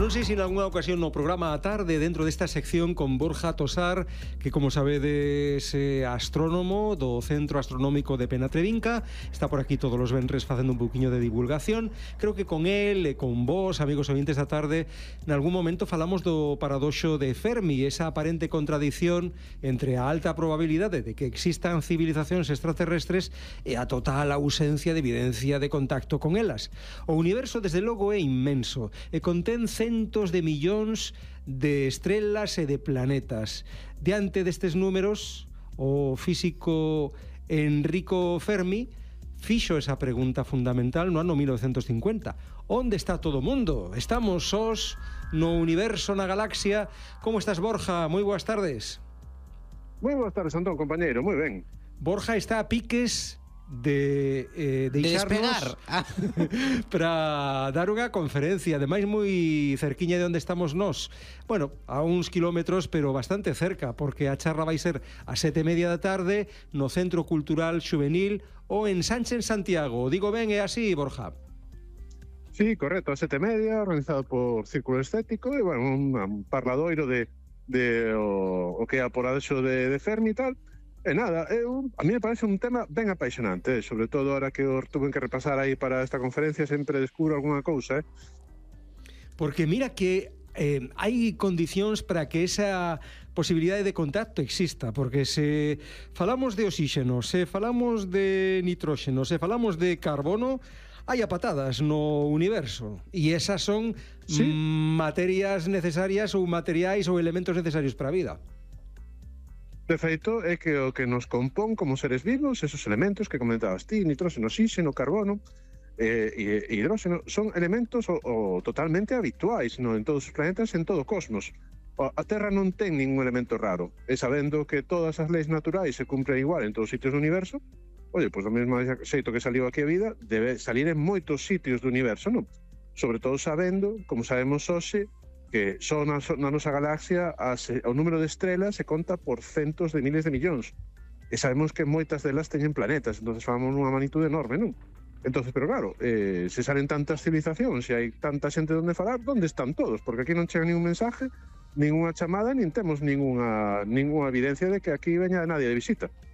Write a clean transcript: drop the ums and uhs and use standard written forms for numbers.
Non sei se en algunha ocasión no programa a tarde, dentro desta sección con Borja Tosar, que como sabedes é astrónomo do Centro Astronómico de Penatrevinca, está por aquí todos os venres facendo un pouquiño de divulgación. Creo que con él e con vos, amigos ointes da tarde, en algún momento falamos do paradoxo de Fermi, esa aparente contradición entre a alta probabilidade de que existan civilizacións extraterrestres e a total ausencia de evidencia de contacto con elas. O universo, desde logo, é inmenso e contén centos de millóns de estrelas e de planetas. Diante destes números, o físico Enrico Fermi fixo esa pregunta fundamental no ano 1950. Onde está todo o mundo? Estamos sós no universo, na galaxia? Como estás, Borja? Moi boas tardes. Moi boas tardes, Antón, compañeiro, moi ben. Borja está a piques de deixarnos para dar unha conferencia, ademais moi cerquiña de onde estamos nós. Bueno, a uns kilómetros, pero bastante cerca, porque a charla vai ser a 7:30 da tarde no Centro Cultural Xuvenil ou en Sánchez, Santiago. Digo ben, é así, Borja? Sí, correcto, a 7:30, organizado por Círculo Estético, e, bueno, un parladoiro de o que é a poradexo de Fermi e tal. E nada, a mí me parece un tema ben apaixonante, sobre todo ahora que o tuve que repasar aí para esta conferencia, sempre descubro algunha cousa, Porque mira que hai condicións para que esa posibilidade de contacto exista, porque se falamos de oxígeno, se falamos de nitróxeno, se falamos de carbono, hai a patadas no universo, e esas son materias necesarias ou materiais ou elementos necesarios para a vida. De feito, é que o que nos compón como seres vivos, esos elementos que comentabas ti, nitróxeno, oxígeno, carbono e hidróxeno, son elementos totalmente habituais en todos os planetas, en todo o cosmos. A Terra non ten ningún elemento raro, e sabendo que todas as leis naturais se cumpren igual en todos os sitios do universo, pois do mesmo xeito que saliu aquí a vida, debe salir en moitos sitios do universo, non? Sobre todo sabendo, como sabemos hoxe, que só na nosa galaxia o número de estrelas se conta por centos de miles de millóns. E sabemos que moitas delas teñen planetas, entonces falamos nunha magnitude enorme, non? Entonces, pero claro, se salen tantas civilizacións e hai tanta xente onde falar, onde están todos? Porque aquí non chega ningún mensaje, ninguna chamada, nin temos ninguna evidencia de que aquí veña nadie de visita.